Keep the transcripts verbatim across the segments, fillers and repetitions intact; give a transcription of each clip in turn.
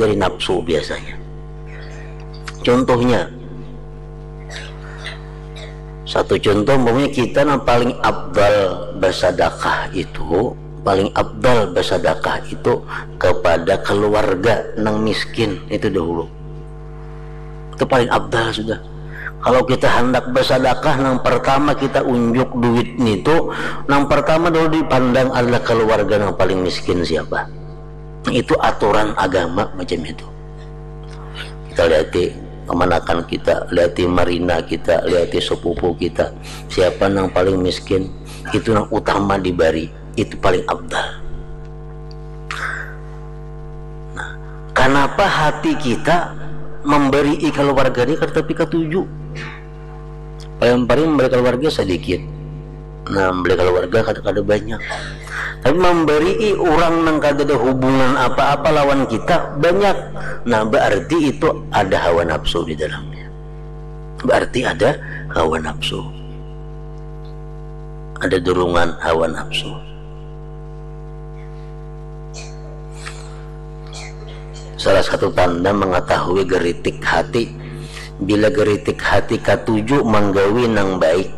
dari nafsu biasanya. Contohnya, satu contoh, umpamanya kita nang paling afdal bersedekah itu, paling afdal bersedekah itu kepada keluarga nang miskin itu dahulu. Itu paling afdal sudah. Kalau kita hendak bersedekah, nang pertama kita unjuk duit nitu, nang pertama dulu dipandang adalah keluarga nang paling miskin siapa. Itu aturan agama macam itu. Kita lihati kemanakan kita, lihati marina kita, lihati sepupu kita. Siapa nang paling miskin, itu nang utama dibari, itu paling afdal. Nah, kenapa hati kita memberi keluarga ni kada tapi katuju? Paling-paling memberi keluarga sedikit. Nah, memberi keluarga kada, kada banyak. Tapi memberi orang nang kada ada hubungan apa-apa lawan kita banyak. Nah, berarti itu ada hawa nafsu di dalamnya. Berarti ada hawa nafsu. Ada dorongan hawa nafsu. Salah satu tanda mengetahui geritik hati, bila geritik hati katuju manggawi nang baik,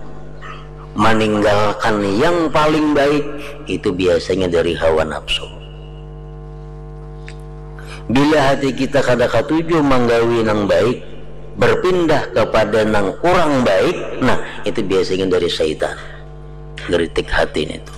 maninggalkan yang paling baik, itu biasanya dari hawa nafsu. Bila hati kita kada katuju manggawi nang baik, berpindah kepada nang kurang baik, nah, itu biasanya dari syaitan. Geritik hati nitu.